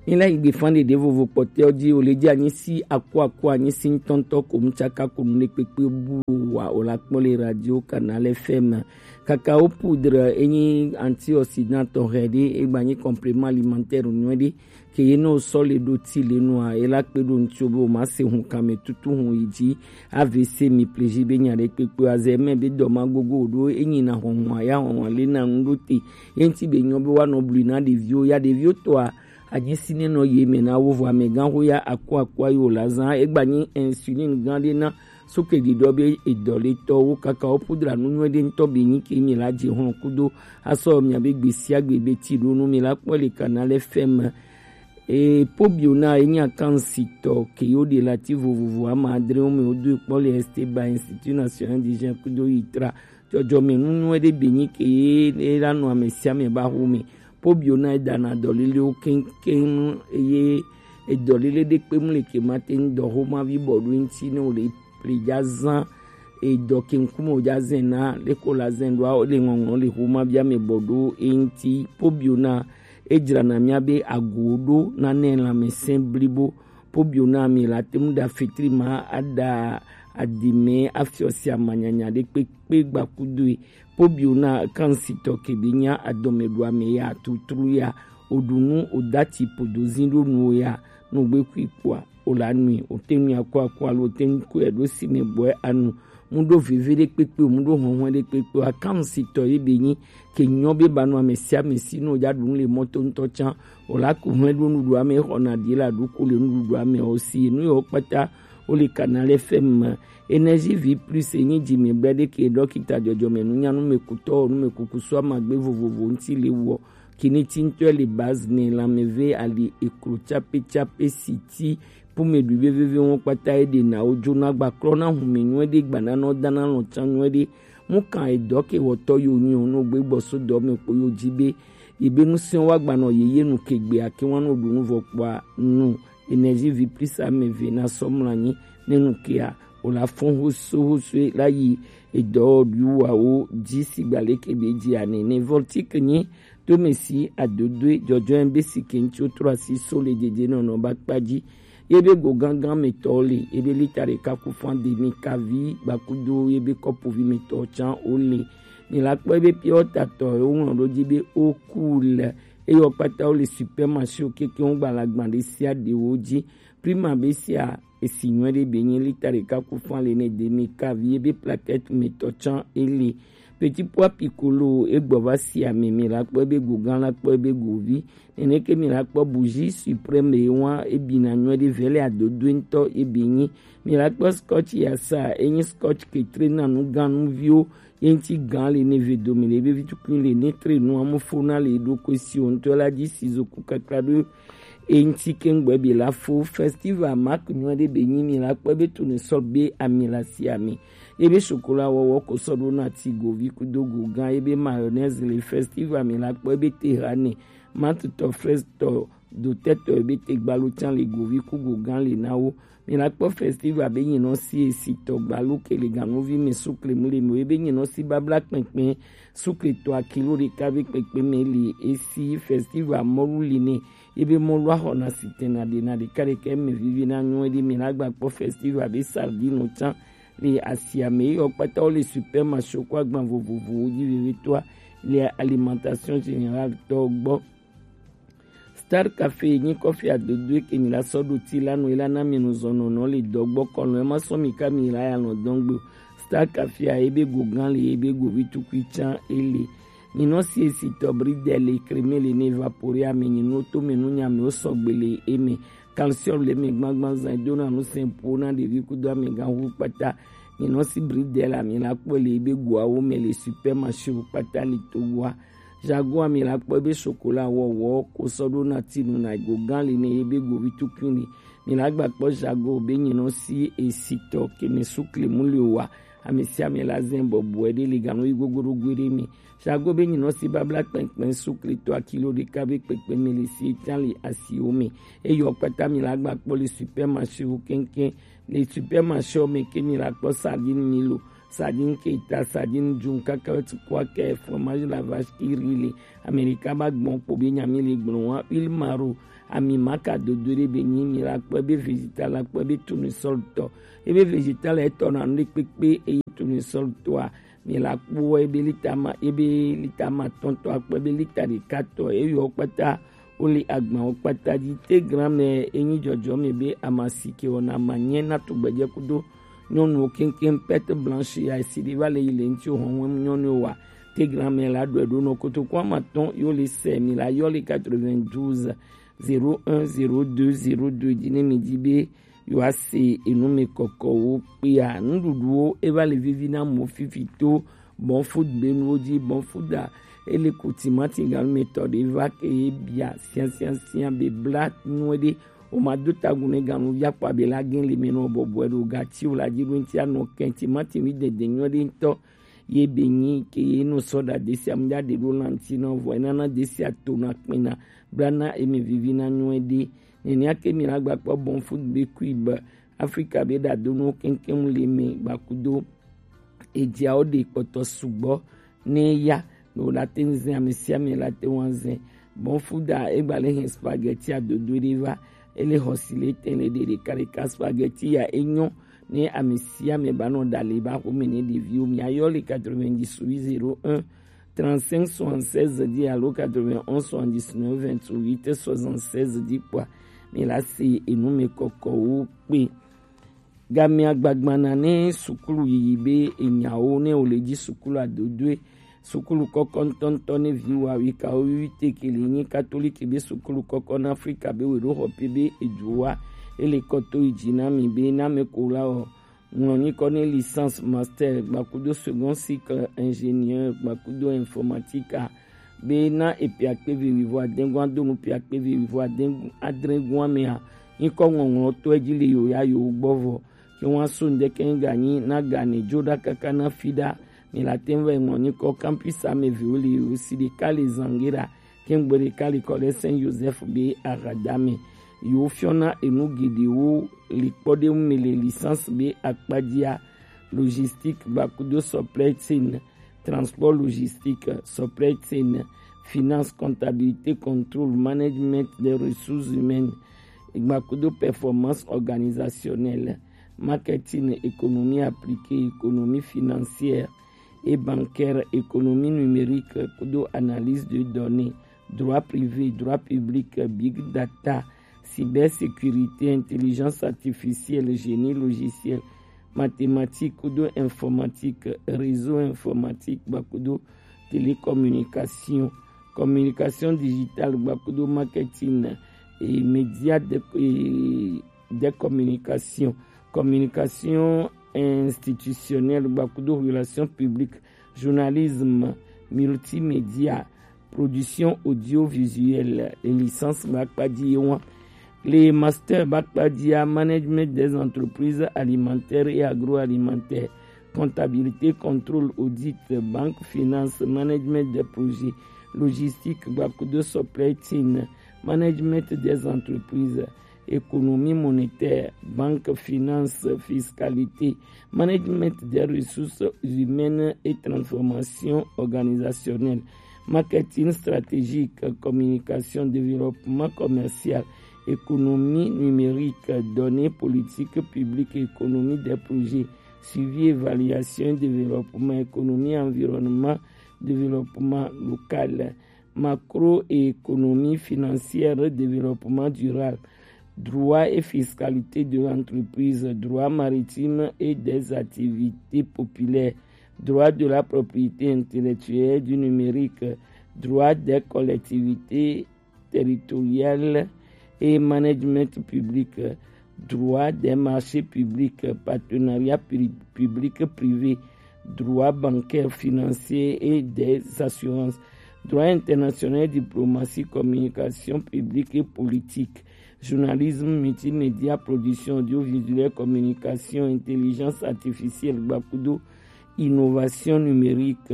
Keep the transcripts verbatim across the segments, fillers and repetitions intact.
Ni la yi gbe fan ɖeɖe vovo kpɔtɛ ɔ ji o le ji anyi si aku aku anyi si ŋutɔŋutɔ ko mu tsaka ko nu ɖe kpekpe bu wa o la kpɔ le radio Canal F M. Kakao poudre enyi antioxydant tɔxɛ ɖe egba nyi complément alimentaire nyuie ɖe ke ye ne o sɔ le ɖo ti le nua e la kpe ɖo ŋutsu be o ma se hun kan me tutu hun yi ji A V C mi pleji be nya ɖe kpekpe azɛ mɛ be dɔ ma gogo o ɖo enyi na hɔhɔn aya hɔhɔn le na nu ɖo te ye ŋuti be nyɔ be wa nɔ blui na ɖeviwo ya ɖeviwo tɔa Aji si ne nɔ ye mɛ na wo vɔ amɛgã ho ya aku aku ayi o la zã egba nyi insuline gã ɖe na sukle ɖiɖɔ be edɔletɔwo kaka wo pudra nu nyuie ɖe ŋutɔ be nyi ke mi la dze hlɔn kudo asɔ mia be gbe sia gbe be ti ɖo nu mi la kpɔ le Canal F M. E pobio na enyi akansitɔ ke yo ɖe lati vovovo ama adre wo me wo do kpɔ le Esteba Institut National du Jeune kudo yi tra Dzɔdzɔme nu nyuie ɖe be nyi ke ye la nɔ ame sia ame ba ho me. Pobio na edana dɔlelewo keŋkeŋ eye edɔlele ɖe kpe mu le ke ma te ŋu dɔ ho ma vi bɔ ɖo ŋuti ne wo le ple dza zã edɔ ke ŋkume wo dza zɛ na le ko la zɛ ɖo le ŋɔŋlɔ le ho ma via me bɔ ɖo e ŋuti. Pobio na edzrana mia be ago ɖo na ne lãmesẽ blibo. Pobio na mi la te ŋu ɖa fetri ma aɖa adime afiɔ sia manyanya ɖe kpekpe gbakudoe. Pobio na kansitɔ kebe nya adɔme ɖo ame ya tutru ya. Oɖunu odati podozi ɖo nuwo ya nugbe kui kpoa o la nui o te nui akɔ akɔ alo o te ŋu kɔe ɖo si me bɔe anu mu ɖo veve ɖe kpekpe mu ɖo hɔhɔe ɖe kpekpe akansitɔ ye be nyi ke nyɔ be ba nɔ ame sia ame si nɔ dza ɖu nu le mɔto ŋutɔ tsã o la ku hlɛ ɖo nuɖuɖu ame xɔ na ɖi la ɖo ko le nuɖuɖu ame o si nu yɔ kpata o le Canal F M. Énergie vie plus enyi dzi me bla ɖe ke dɔkita dzɔdzɔme nunya numekutɔ numekuku so amagbe vovovo ŋuti le wɔ Kinitintɔe le base ne lãmeve ali eklo tsape tsape siti pume ɖui veveve ŋu kpata eɖe na wo dzona gbaklɔ na hume nyuie ɖe gbananɔ dana lɔ tsa nyuie ɖe mu kan edɔ ke wɔtɔ yo nyi o no gbe gbɔ so dɔ me kpo yo dzi be yi be ŋusẽ wa gbanɔ yeye nu ke gbe ake wa no ɖu nu vɔ kpɔa nu Énergie vie plus ame ve na sɔ mla nyi ne nu kea o la fɔn hoso hoso la yi edɔ ɖu wa wo dzi si gba le ke be dzi ane ne voltique nyi Tomesi adodoe dzɔdzɔe be si ke ŋutsu trɔ asi so le dzedze nɔnɔ ba kpa dzi. Ye be go gangan me tɔ le, ye be lita ɖeka ku fan demi kavi gbakudo ye be kɔpuvi me tɔ tsan o le. Mi la kpɔ ye be pure water tɔ ye wo ŋlɔ ɖo dzi be o cool. Eye wo kpata wo le supermarché wo keke wo gbalagba ɖe sia ɖe wo dzi. Prima be sia esi nyuie ɖe be nye lita ɖeka ku fan le ne demi kavi ye be plaquette me tɔ tsan e le. Petit pois piccolo egbɔ va si ame mi la kpɔ ebe go gã la kpɔ ebe go vi. Neneke mi la kpɔ bougie suprême ye wa ebi na nyuie ɖe vele adodoe ŋutɔ ebe nyi. Mi la kpɔ scotch yasa enyi scotch ketre na nu gã nu viwo ye ŋuti gã le ne ve dome le ebe vi tukui le ne tre nu amo fo na le ɖo ko si o ŋutɔ la dzi si zo ku kakla ɖo. Eŋti kengbe be la fo festival mak nyuie ɖe be nyi mi la kpɔ be tone sɔ be ami la si ami. Ebe chocolat wɔwɔ ko sɔ ɖo na ti govi kudo go gã ebe mayonnaise le festival mi la kpɔ ebe te ha ne matutɔ fraise tɔ dotɛtɔ ebe te gbalo tsan le govi ku go gã le na wo. Mi la kpɔ festival be nyinɔ si esi tɔ gbalo ke le ganuvi mi sukle mu le mi ebe nyinɔ si babla kpɛnkpɛn sukle tɔ akilo ɖeka be kpɛnkpɛn mi le esi festival mɔlu li ne Ye be mɔ lɔ axɔ na sitɛn na ɖe na ɖeka ɖeka eme vivi na nyɔ ɖi mi na gba kpɔ festival be sardine tsan le asia me. Ye yɔ kpata wo le supermarché ko agban vovovowo dzi vevitɔa le alimentation générale tɔ gbɔ. Star Café nyi kɔfi adodo ke mi la sɔ ɖo ti la nu la na mi nu zɔnɔ nɔ le dɔ gbɔ kɔnɔ e ma sɔ mi ka mi la ya lɔ dɔn gbe. Star Café a ebe go gan le ebe go vi tukui tsan ele. Nyinɔ si esi tɔ bridel le creme le ne évapore ame nyinɔ to me nu nya me wo sɔgbe le eme. Calcium le me gbagban zan do na nu sɛnpo na ɖevi kudo ame gan hu kpata. Nyinɔ si bridel ame la kpɔ le ebe goawo me le supermarché wo kpata le to wa. Jago ame la kpɔ ebe chocolat wɔwɔ ko sɔ ɖo na ti nu na go gan le ne ebe go vi tukui le. Mi la gba kpɔ jago be nyinɔ si esi tɔ ke me sukle mu le wa. Ame sia ame la zɛn bɔbɔe ɖe le ganu yi gogoɖogoe ɖe me. Sago be nyinɔ si babla kpɛnkpɛn sukle tɔ akilo ɖeka be kpɛkpɛ me le si etsa le asiwo me. Eyɔ kpata mi la gba kpɔ le supermarché wo kɛnkɛn. Le supermarché wo me ke mi la kpɔ sardine Milo, Sardine Keita, sardine Junca, carotte, pois, fromage la vache qui rit, le America ba gbɔn kpo be nyami le gblɔ wa, huile maro, ami maka dodo ɖe be nyi mi la kpɔ ebe vegetable la kpɔ ebe tournesol tɔ, ebe vegetable etɔ na nu ɖe kpekpe eye tournesol tɔa mi la kpɔ ebe lita ma, ebe lita ma tɔntɔ akpɔ ebe lita ɖeka tɔ eyɔ kpata wole agbawo kpata dzi. Tegram enyi dzɔdzɔme be amasi ke wɔna manyɛ na tugbedze kudo nyɔnuwo keŋkeŋ. Perte blanche ya esi ɖe va le yi le ŋuti hɔn nyɔnuwo wa. Tegram la ɖɔe ɖo nɔ kotoku amatɔn yo le sɛ mi la yɔ le quatre-vingt-douze zéro un zéro deux zéro deux dzi ne mi di be yewoase enumekɔkɔwo kpea. Nuɖuɖuwo eva le vivi na amewo fifi to Bon Food be nuwo dzi. Bon Food a, ele ku timati ganumetɔ ɖe va ke ye bia siasiasia be bla nuwe ɖe. Woma do tagun ne ganuvi akpa be la gen le me nɔ bɔbɔe ɖo gati wo la dzi ɖo ŋuti anɔ kɛn timati wi dede nyuie ɖe ŋutɔ. Ye be nyi ke ye nɔ sɔ ɖa desi amu ya ɖe ɖo lanti nɔ vɔ enana desi ato na kpena bla na eme vivi na nyuie ɖe. Nenea ke mi la gba kpɔ Bon Food be kui be Afrika be ɖadonuwo keŋkeŋ le me gbakudo edziawo ɖe kpɔtɔ sugbɔ ne ya no la te ŋu zin ame sia ame la te ŋu azin. Bon Food a egba le hɛn spaghetti adodo ɖe va ele xɔ si le tɛn le ɖe ɖeka ɖeka. Spaghetti ya enyɔ ne ame sia ame ba nɔ ɖa le ba xome ne ɖeviwo mi ayɔ le quatre-vingt-dix-huit zéro un trente-cinq soixante-seize dzi alo quatre-vingt-onze soixante-dix-neuf vingt-huit soixante-seize dzi kpɔa mi la se enumekɔkɔwo kpe. Gamea gbagbana ne sukulu yiyi be enyawo ne wòle dzi sukulu adodoe. Sukulu kɔkɔ ŋutɔŋutɔ ne viwo awikawo wiwi teke le nyi katoliki be sukulu kɔkɔ na Afrika be weɖo xɔ pe be eduwa ele kɔto yi dzi na mi be na me ko la wɔ ŋlɔ nyikɔ ne licence master gbakudo second cycle ingénieur gbakudo informatique a be na epiakpe vivivo adengua donu piakpe vivivo adengua mea nyikɔ ŋɔŋlɔ to edzi le yo ya yo gbɔ vɔ ke ŋua so ŋdeke ŋga nyi na gane dzo ɖa kaka na fi ɖa mi la te ŋu va ŋlɔ nyikɔ campus ame viwo le yo si ɖeka le zange ɖa ke ŋgbe ɖeka le kɔ ɖe Saint Joseph be agadame yo fiɔna enu geɖewo le kpɔ ɖe ŋu me le licence be akpadzia logistique gbakudo supply chain transport logistique, supply chain, finance, comptabilité, contrôle, management des ressources humaines, gbakudo performance organisationnelle, marketing, économie appliquée, économie financière et bancaire, économie numérique, kudo analyse de données, droit privé, droit public, big data, cybersécurité, intelligence artificielle, génie logiciel, mathématiques kudo informatique, réseau informatique gbakudo télécommunication, communication digitale gbakudo marketing et média de, et de communication, communication institutionnelle gbakudo relations publiques, journalisme, multimédia, production audiovisuelle, licence bakpadi ye wan. Les masters bakpadia, management des entreprises alimentaires et agroalimentaires, comptabilité, contrôle, audit, banque, finance, management des projets, logistique, gbakudo supply chain, management des entreprises, économie monétaire, banque, finance, fiscalité, management des ressources humaines et transformation organisationnelle, marketing stratégique, communication, développement commercial, économie numérique, données, politique publique, économie des projets, suivi, évaluation, développement, économie, environnement, développement local, macroéconomie financière, développement durable, droit et fiscalité de l'entreprise, droit maritime et des activités populaires, droit de la propriété intellectuelle, du numérique, droit des collectivités territoriales et management public, droit des marchés publics, partenariat public-privé, droit bancaire, financier et des assurances, droit international, diplomatie, communication publique et politique, journalisme, multimédia, production audiovisuelle, communication, intelligence artificielle, gbakudo, innovation numérique.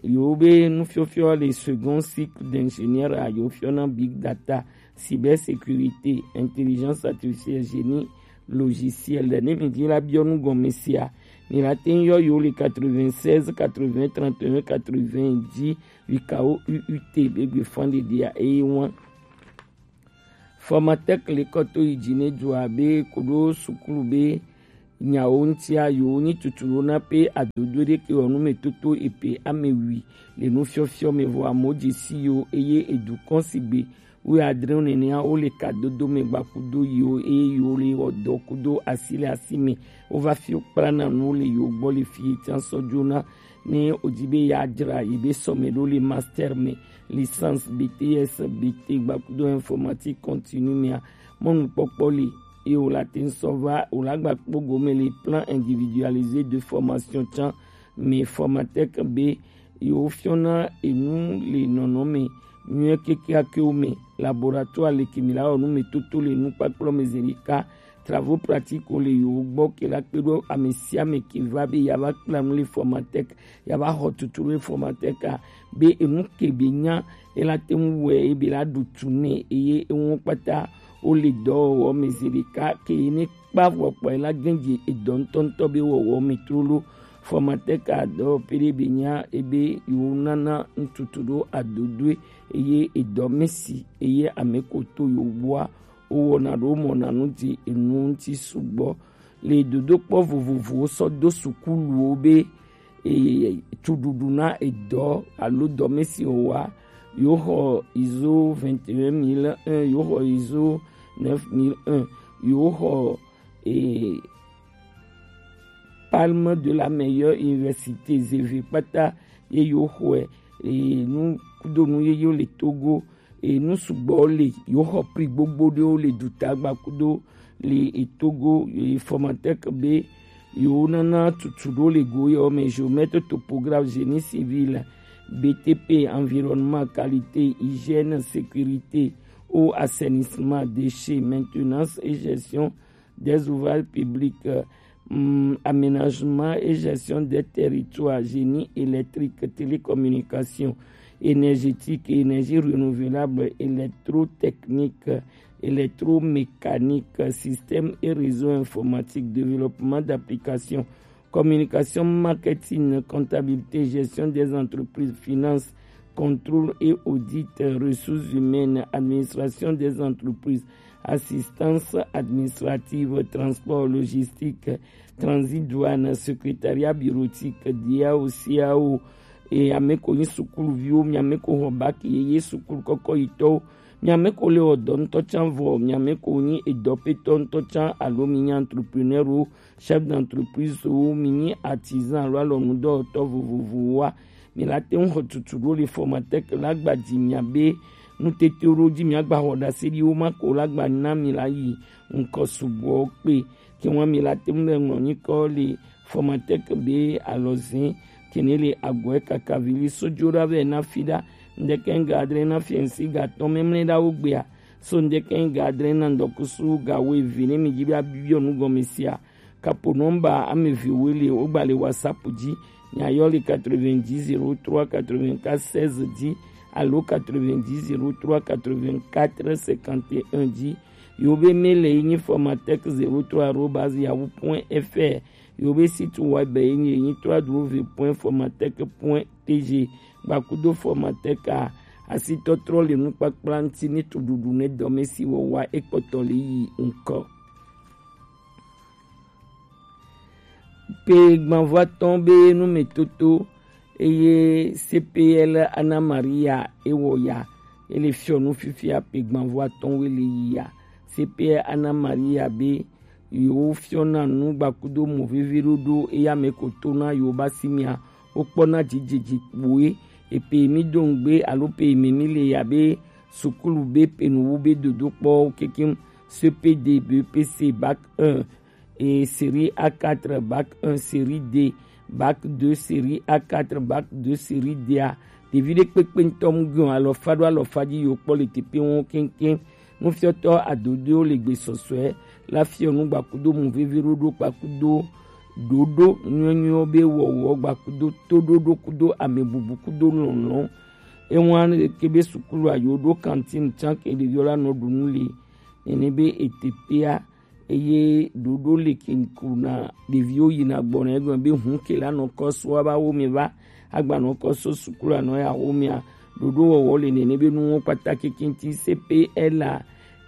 Yo be nufiɔfiɔ le second cycle d'ingénieur a yo fiɔ na big data, cybersécurité, intelligence artificielle, génie logiciel. Ne mi di la biɔ nu gɔme sia, Mi la te ŋ yɔ yo le quatre-vingt-seize quatre-vingts trente et un quatre-vingts dzi, wikawo U U T be gbe fan ɖeɖea eye wan. Formatec le kɔ to yi dzi ne dua be koɖo sukulu be nyawo ŋutia yewo nyi tutu ɖo na pe adodo ɖe ke wɔ nu me toto epe ame wi le nufiɔfiɔ me vɔ amewo dze si yo eye edu kɔn sigbe wuiadre nenea wo le kadodo me gbakudo yiwo eye yewo le wɔ dɔ kudo asi le asi me. Wova fi wo kpla na nu le yewo gbɔ le fi ye tiã sɔ dzona ne wodi be yeadzra yi be sɔme ɖo le master me, licence, B T S, B T gbakudo informatique continue mea, mɔnukpɔkpɔ li eye wòla te ŋ sɔ va wòla gba kpɔ gome le plan individualisé de formation can me. Formatec be yewo fiɔna enu le nɔnɔme nyuie kekeakewo me. Laboratoire le ke mi la wɔ nu me toto le nukpakplɔ me zi ɖeka. Travaux pratiques le yewo gbɔ ke la kpe ɖo ame sia ame ke va be yeava kpla nu le Formatec, yeava xɔ tutu le Formatec a, be enu ke be nya ela te ŋu wɔe ebe la ɖu tu nɛ eye eŋu kpata wole dɔwɔwɔ me zi ɖeka ke ne kpa vɔ kpɔe la gɛ̃ dze edɔ ŋutɔŋutɔ be wɔwɔ me trolo. Formatec a dɔwɔƒe ɖe be nya ebe yewo nana ŋututu ɖo adodoe eye edɔ me si eye ame ko to yewo gbɔa wowɔna ɖo mɔna nu dzi enu ŋuti sugbɔ le dodokpɔ vovovowo sɔ do sukuluwo be e, cuɖuɖu na edɔ alo dɔmesi wɔwɔa, yewo xɔ izo vingt et un mille un, yewo xɔ izo neuf mille un, yewo xɔ e, palme de la meilleure université zeve kpata ye yewo xɔe e, nu kudo nu yeyewo le Togo. E, nu sugbɔ le yewo xɔ pri gbogbo ɖewo le duta gbakudo le e, Togo e, Formatec be yewo nana tutu ɖo le go yewo me, géomètre, topographe, génie civil, B T P, environnement, qualité, hygiène, sécurité, eau, assainissement, déchets, maintenance et gestion des ouvrages publics, hum, aménagement et gestion des territoires, génie électrique, télécommunication, énergétique et énergie renouvelable, électrotechnique, électromécanique, système et réseau informatique, développement d'applications, communication, marketing, comptabilité, gestion des entreprises, finances, contrôle et audit, ressources humaines, administration des entreprises, assistance administrative, transport, logistique, transit, douane, secrétariat bureautique, D A O, C A O, e ame ko nyi sukuluviwo, mi ame ko xɔ bac yeye sukulu kɔkɔ yitɔwo, mi ame ko le wɔ dɔ ŋutɔ can vɔ, mi ame ko nyi edɔpetɔ ŋutɔ can alo mi nyi entrepreneur wo, chef d'entreprise wo, mi nyi artisan alo alɔnudɔwɔtɔ vovovowoa, mi la te ŋu xɔ tutu ɖo le Formatec la gba dzi mia be nutetewo ɖo dzi mia gba xɔ ɖase ɖi wo ma ko la gba na mi la yi ŋkɔ sugbɔ kpe. Ke ŋua mi la te ŋu le ŋlɔ nyikɔ le Formatec be alɔzin kene le agɔe kaka vili sojo ɖa vɛ na fi ɖa. Ŋdeke ŋga adre na fiɛnsi ga tɔn mɛmlɛ ɖa wo gbea. So ŋdeke ŋga adre na ŋdɔkusu ga wo evi ne mi dzi be abiɔ nu gɔme sia. Kapo nɔmba ame eve woe le wogba le WhatsApp dzi. Miayɔ le quatre-vingt-dix zéro trois quatre-vingt-quatre seize dzi alo quatre-vingt-dix zéro trois quatre-vingt-quatre cinquante et un dzi. Yewo be mail ye nyi formatech zéro trois arobase yahoo point F R. Yewo be site web ye nyi, ye nyi trois W point formatech point T G. Gbakudo Formatech a, asitɔtrɔ le nukpakpla ŋuti ne tuɖuɖu ne dɔmesi wɔwɔa ekpɔtɔ le yi ŋkɔ. Pe gbanvɔ atɔ̃ be numetoto eye C P L Ana Maria ewɔ ya, ele fiɔ nu fifia pe gbanvɔ atɔ̃ wo le yi ya. C P L Ana Maria be yewo fiɔna nu gbakudo mo vevi ɖoɖo eye ame ko to na yewo ba si mia, wo kpɔna dzidzedzi kpoe. Epe mi do ŋgbe alo pe mi mi le ya be sukulu be pe nuwo be dodo kpɔ kekem C P D, B P C, bac un, et série A quatre, bac un, série D, bac deux, série A quatre, bac deux, série D a. Ɖevi ɖe kpekpe ŋutɔ mu gbɔn alɔfa ɖo alɔfa dzi yewo kpɔ le teƒe wɔn keŋkeŋ. Nufiɔtɔ adodoewo le gbe sɔsɔe la fiɔ nu gbakudo mu vevi ɖoɖo kpakudo ɖoɖo nyuinyuiwo be wɔwɔ gbakudo toɖoɖo kudo amebubu kudo lɔlɔ̃. Ewan ke be sukulu ayo ɖo kantine can ke ɖeviwo la nɔ ɖu nu le. Nene be eteƒea eye ɖoɖo le kinkuna ɖeviwo yina gbɔna egɔme be hun ke la nɔ kɔ so aba wo me va agba nɔ kɔ so sukulu anɔ ya wo mea ɖoɖo wɔwɔ le nene be nuwo kpata kekinti C P L a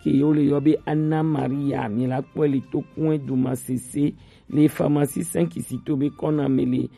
ke wo le yɔ be Anna Maria mi la kpɔe le tokun edu ma sese le pharmacie cinq si to be kɔna me le